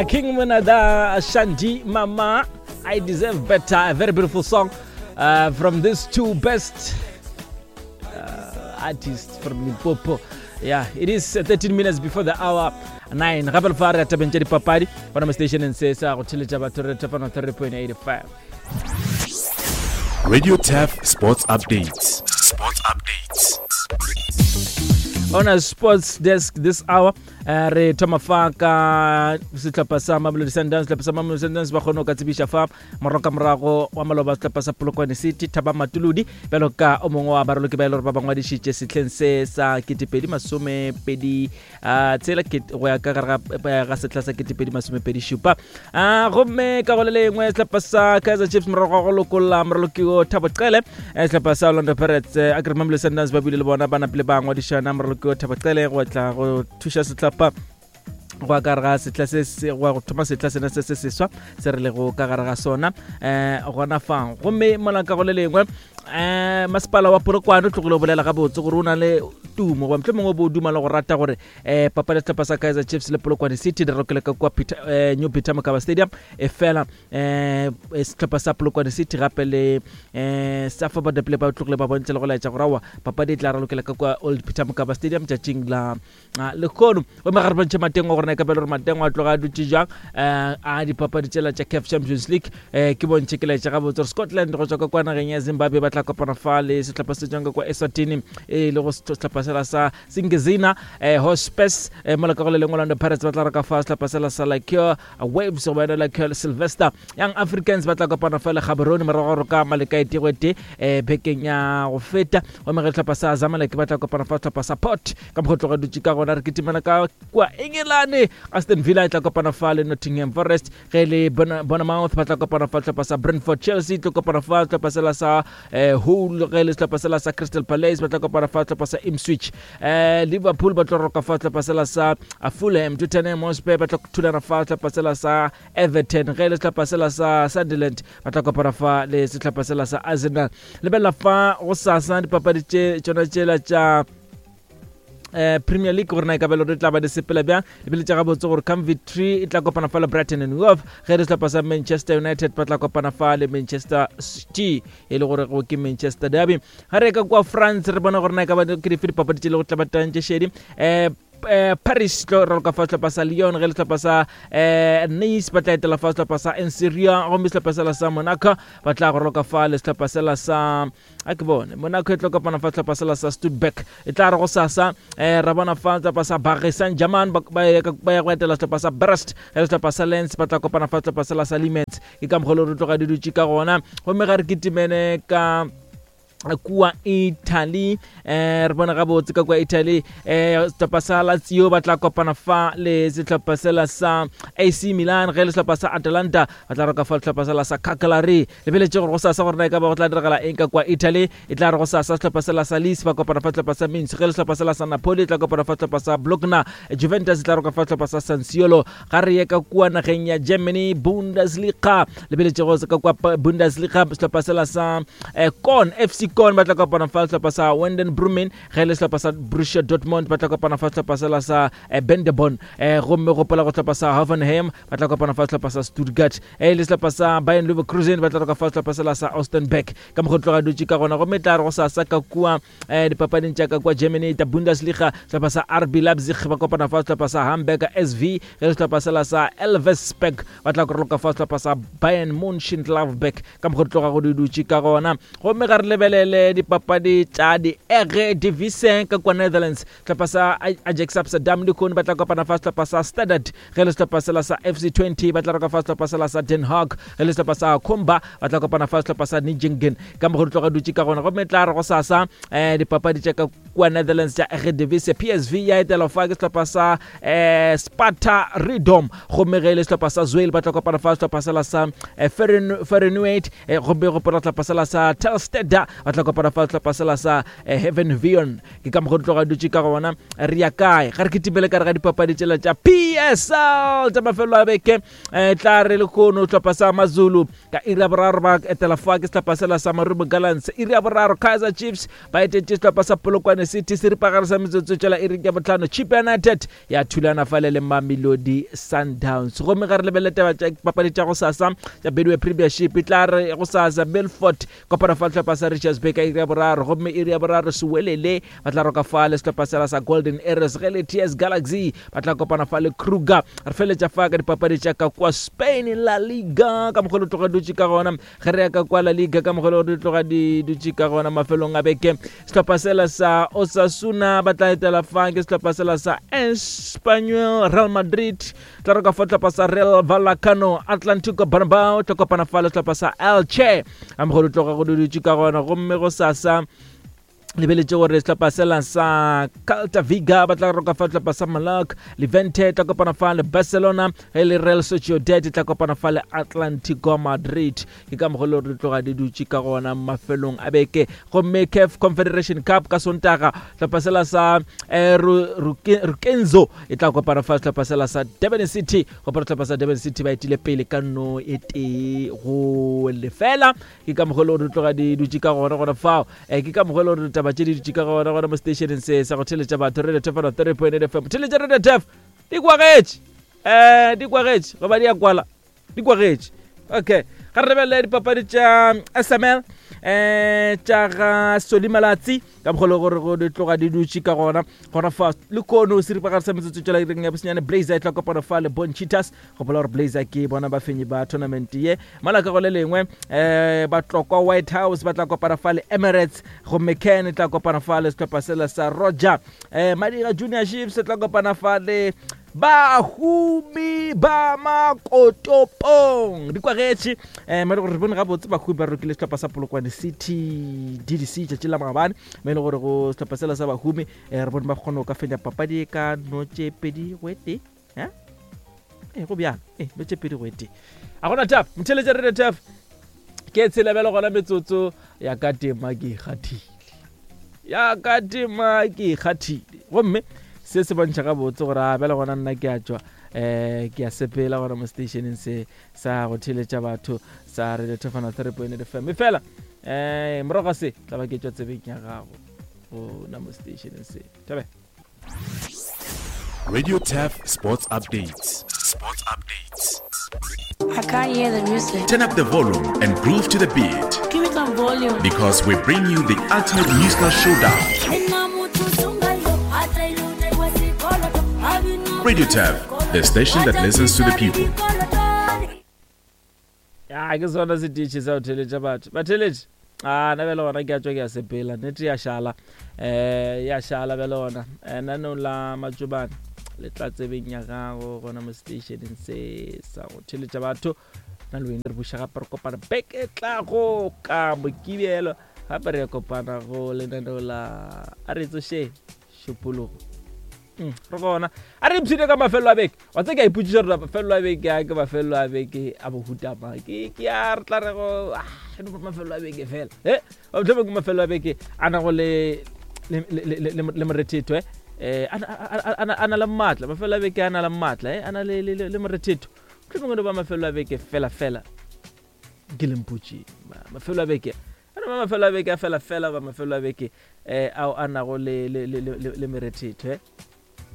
King Monada Shandy Mama, I deserve better. A very beautiful song uh, from these two best uh, artists from Limpopo. Yeah, it is 13 minutes before the hour 9. Gape le fa re tabeng tša dipapadi gona mo stationeng se sa go theletša batho re thapano 3.85. Radio Taf Sports Updates. Sports Updates. On a sports desk this hour Eh, re thoma fa ka sehlopha sa Mamelodi Sundowns. Sehlopha sa Mamelodi Sundowns ba kgone go ka tsebiša fa morago ka morago wa maloba sehlopha sa Polokwane City Thaba Matuludi bjalo ka o mongwe wa baraloki ba e le gore ba ba ngwadišitše sehleng se sa ketepedi masomepedi ah, tshela go ya ka gare ga eh, sehla sa ketepedi masomepedi šupa. Ah, gomme ka go le lengwe sehlopha sa Kaizer Chiefs morago ga go lokolla moraloki o Thabo Cele, eh, sehlopha sa Orlando Pirates, a kere Mamelodi Sundowns ba buile le bona ba napile ba ngwadišana moraloki o Thabo Cele go tla go thuša sehlopha go ka gare ga setla se se go thoma setla sena se se seswa se re lego ka gare ga sona um gona fang. Gomme mola ka go le lengwe um masepala wa Polokwane o tlogile o bolela gabotse gore o na le tumo goba motlho mongwe o bo o duma le go rata gore um papadi ya sehlopha sa Kaizer Chiefs le Polokwane City di rokele ka kua Peter, um New Peter Mokaba Stadium, e fela um sehlopha sa Polokwane City gape le um sa Forward Play ba tlogile ba bontšha le go laetša gore aowa papadi e tla ralokela ka kua Old Peter Mokaba Stadium tšatšing la lehono. Gomme ga re bontšhe Matengo gore na e ka bele gore Matengo a tloga a dutše jang um a dipapadi tšela tša CAF Champions League. Um ke bontšhe ke laetša gabotse gore Scotland go tswa ka kwa nageng ya Zimbabwe ba tla kopana fa le sehlopha se tswang ka kwa Eswatini e le go sehlopha sela sa Singezina um Hospes. Um mola ka go le lengwe Orlando Pirates ba tla reka fa sehlopha sela sa Lacure Waves go yona Lacure Sylvester. Young Africans ba tla kopana fa le Gaborone morago gore ka maleka e tee tee um bekeng ya go feta. Gomme ge sehlopha sa Zamalek ba tla kopana fa sehlopha sa Port ka mokgwa tloga dutše ka gona. Re kitimela ka kua Engelane, Aston Villa e tla kopana fa le Nottingham Forest, ge le Bournemouth ba tla kopana fa sehlopha sa Brentford, Chelsea e tlo kopana fa sehlopha sela sa eh, Hull, ge le sehlopha sela sa Crystal Palace ba tla kopana fa sehlopha sa Ipswich, eh, Liverpool ba tlo roka fa sehlopha sela sa Fulham, Tottenham Hotspur ba tla thulana fa sehlopha sela sa Everton, ge le sehlopha sela sa Sunderland ba tla kopana fa le sehlopha sela sa Arsenal. Lebelela fa go sasa dipapadi tše tšona tšela tša eh Premier League gore na e ka belo re tla ba di sepela bjang. Lebeletša gabotse gore Coventry e tla kopana fa le Brighton and Hove, ge re sehlopha sa Manchester United ba tla kopana fa le Manchester City e le gore go ke Manchester Derby. Ga re ka kwa France re bona gore na e ka ba ke dife dipapadi tše le go tla ba tantše šedi. Eh eh, Paris tlo raloka fa sehlopha sa Lyon, ge le sehlopha sa eh, Nice ba tla etela fa sehlopha sa Enseria, gomme sehlopha sela sa Monaco ba tla go raloka fa le sehlopha sela sa a ke bone Monaco e tlo kopana fa sehlopha sela sa Stuttgart. E tla re go sasa eh, ra bona fa sehlopha sa Paris Saint-Germain ba ya go etela sehlopha sa Brest, ge le sehlopha sa Lens ba tla kopana fa sehlopha sela sa Limens. Ke ka mokgwa le re tloga di dutše ka gona. Gomme ga re kitimene ka kua Italy, eh re bona gabotse ka kua Italy, eh sehlopha sa Lazio ba tla kopana fa le sehlopha sela sa AC Milan, ge le sehlopha sa Atalanta ba tla roka fa sehlopha sela sa Cagliari. Lebeletše gore go sasa gore na e ka ba go tla diragala eng ka kua Italy. E tla re go sasa sehlopha sela sa Lecce ba kopana fa sehlopha sa Minsk, ge le sehlopha sela sa Napoli e tla kopana fa sehlopha sa Bologna, Juventus e tla roka fa sehlopha sa San Siro. Ga re ye ka kua nageng ya Germany, Bundesliga. Lebeletše go ka kua Bundesliga sehlopha sela sa eh, Korn, FC Korn ba tla kopana fa sehlopha sa Wenden Brumen, ge le sehlopha sa Borussia Dortmund ba tla kopana fa sehlopha sela sa eh, Bendeborn, eh, gomme gopola go sehlopha sa Hoffenheim ba tla kopana fa sehlopha sa Stuttgart, eh, le sehlopha sa Bayern Leverkusen ba tla roka fa sehlopha sela sa Ostenberg. Ka mokgwa tloga dutše ka gona. Gomme tla re go sasa ka kua eh, dipapading tša ka kua Germany ta Bundesliga, sehlopha sa RB Leipzig ba kopana fa sehlopha sa Hamburger SV, ge le sehlopha sela sa Elversberg ba tla koroloka fa sehlopha sa Bayern Mönchengladbach. Ka mokgwa tloga go di dutše ka gona. Gomme ga re lebelele dipapadi tša di-Eredivisie ka kua Netherlands, sehlopha sa Ajax Amsterdam lehono ba tla kopana fa sehlopha sa Standard, ge le sehlopha sela sa FC 20 ba tla roka fa sehlopha sela sa Den Haag, ge le sehlopha sa Komba ba tla kopana fa sehlopha sa Nijmegen. Ka mokgwa di tloga dutše ka gona. Gomme tla re go sasa um dipapadi tša ka kua Netherlands tša Eredivisie, PSV ya etelwa fa ke sehlopha sa um Sparta Rotterdam, gomme ge e le sehlopha sa Zwolle ba tla kopana fa sehlopha sela sa eh, Feyenoord, gomme gopola sehlopha sela sa Telstar ba ba tla kopana fa sehlopha sela sa eh, Heaven Vion. Ke ka mokgwa di tloga dutše ka gona. Re ya kae? Ga re kitimele ka re ga dipapadi tšela tša PSL tša mafelo a beke. Eh, tla re lehono sehlopha sa Mazulu ka iri ya boraro ba etela fa ke sehlopha sela sa Marumo Gallants. Iri ya boraro Kaizer Chiefs ba etetše sehlopha sa Polokwane City seripagare sa metsotso tšela iring ya bohlano. Chippa United ya thulana fale le Mamelodi Sundowns. Gomme ga re lebelele taba tša papadi tša gosasa tša Betway Premiership, e tla re gosasa Milford kopana fa sehlopha sa Richards Bay ka iri ya boraro, gomme iri ya boraro Sewelele ba tla roka fa le sehlopha sela sa Golden Arrows, ge le TS Galaxy ba tla kopana fa le Kruger. Re feletša fa ka dipapadi tša ka kwa Spain, La Liga, ka mokgwa le tloga dutše ka gona. Ge re ya ka kwa La Liga, ka mokgwa le di tloga di dutše ka gona mafelong a beke, sehlopha sela sa Osasuna ba tla etela fa ke sehlopha sela sa Espanyol. Real Madrid tla roka fa sehlopha sa Real Vallecano. Atlantico Bilbao tla kopana fa le sehlopha sa Elche, a mokgwa le tloga go dutše ka gona. Gomme go sasa lebeletše gore sehlopha sela sa Celta Vigo ba tla roka fa sehlopha sa Malac, Levante tla kopana fa le Barcelona, ge le Real Sociedad tla kopana fa le Atlantico Madrid. Ke ka mokgwa le gore di tloga di dutše ka gona mafelong a beke. Gomme CAF Confederation Cup ka Sontaga, sehlopha sela sa eh, Rukenzo e tla kopana fa sehlopha sela sa Durban City. Gopola sehlopha sa Durban City ba etile pele ka no e tee go lefela. Ke ka mokgwa le gore di tloga di dutše ka gona gona fao. Um ke ka mokgwa le gore ditaba tše di dutše ka gona gona mo stationeng se sa go theletša batho, Radio Tef 3.8 FM. Theletša Radio Tef, di kwagetše, um di kwagetše goba di a kwala, di kwagetše. Okay, ga re lebelele dipapadi tša SML um tša ga Soli Malatsi, ka mokgwa le gore go di tloga di dutše ka gona gona fa. Le kono seripagare sa metsotso tšela ireng ya bosenyane, Blazer e tla kopana fa le Bon Cheetahs. Gopola gore Blazer ke bona bafenyi ba tournament ye. Mola ka go le lengwe um Batlokwa White House ba tla kopana fa le Emirates, gomme Ken e tla kopana fa le sehlopha sela sa Roger. Um Madira Junior Chiefs e tla kopana fa le Bahumi ba Makotopong. Di kwagetše um mo e le gore re bone gabotse Bahumi ba rokile sehlopha sa Polokwane City DDC tšatši la maabane, mo e le gore go sehlopha sela sa Bahumi um re bone ba kgone go ka fenya papadi e ka no tše 2-1. Eh? Ee, go bjang? Ee, no tše 2-1. A gona tap, motheletša Radio Tap. Ke tshela bjalo gona metsotso ya ka tema ke ikgathile. Ya ka tema ke ikgathile. Gomme se se bontšha gabotse gore a bjale gona nna ke a tšwa eh ke a sepela gona mo stationeng se sa go theletša batho sa Radio Tefana 3.8 FM. Efela eh morago ga se tla ba ke tšwa tsebeng ya gago gona mo stationeng se. Thabe. Radio Taf Sports Updates. Sports Updates. I can't hear the music. Turn up the volume and groove to the beat. Give me some volume. Because we bring you the ultimate musical showdown. Radio Taf, the station that listens to the people. Ya ke sona setiši sa go theletša batho. Batheletši, a na bjale gona ke a tšwa ke a sepela. Nnete ya šala. Eh ya šala bjale gona. Eh nanong la matšobane le tla tsebeng ya gago gona mo stationeng se sa go theletša batho. Na le wena re buša gape re kopana beke e tlago ka Mokibelo. Gape re ya kopana go lenaneo la a re tsošeng šupologo. Mm, re gona a re ipshine ka mafelelo a beke. Wa tse ke a ipotšiša gore mafelelo a beke a ke mafelelo a beke a bohutama ke ke a re tla re go ah, no mafelelo a beke fela e mohlomong ke mafelelo a beke a nago le le morethetho eh eh a na le maatla. Mafelelo a beke a na le maatla eh a na le le morethetho. Mohlomong no ba mafelelo a beke fela fela ke lempotše mafelo a beke a no ba mafelo a beke a fela fela ba mafelo a beke eh ao a nago le le le le le merethetho eh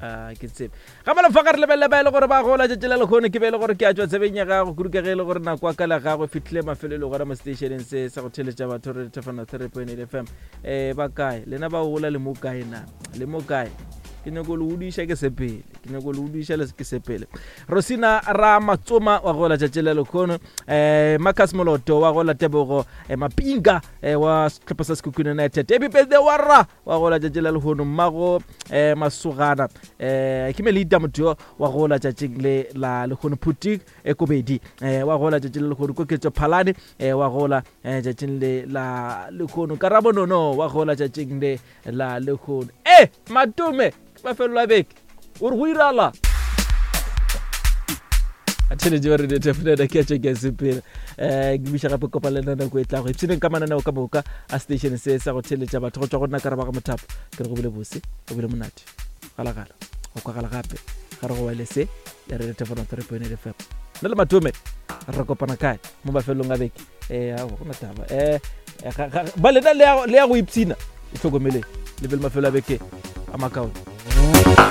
a ke tsebe ga malofa ga re lebelele ba e le gore ba gola tšatši la lekgono ke be e le gore ke a tšwa tsebeng ya gago kudu ka ge e le gore nako ya ka la gagwe fitlhile mafelelo gona mo stationeng se sa go theletša batho re thefana 3.8 FM. Eh ba kae lena ba gola le mo kae na le mo kae? Ke nyako le udiša ke sepele, ke nyako le udiša le ke sepele. Rosina ra Matsoma wa gola tšatši la lekgono, eh Marcus Moloto wa gola, Tebogo eh, Mapinga eh, wa sehlopha sa Sekhukhune United, happy birthday wa ra wa gola tšatši la lehono, mmago eh, Masogana eh, ke Melita motho wa gola tšatšing le la lehono, Phuti eh, Kobedi eh, wa gola tšatši le lehono, Koketso Phalane eh, wa gola eh, tšatšing le la lehono, Karabo Nono wa gola tšatšing le la lehono. Eh Matome ke mafelelo a beke o re go irala. Theletše ba radio tafunana ke a tšwa ke a sepela. Um ke biša gape kopa le nna nako e tlago. Ipshineng ka mananeo ka moka a station se sa go theletša batho go tšwa go nna Karaba ga Mothapo. Ke re go bile bose, go bile monate. Galagala, go kwagala gape ga re go wele se ya radio tafunana 3.8 FM. Nna le Matome re kopana kae mo mafelong a beke? Eh, aowa, go na taba. Eh, ba lena le ya go ipshina. Itlhokomeleng le be le mafelo a beke a makaone.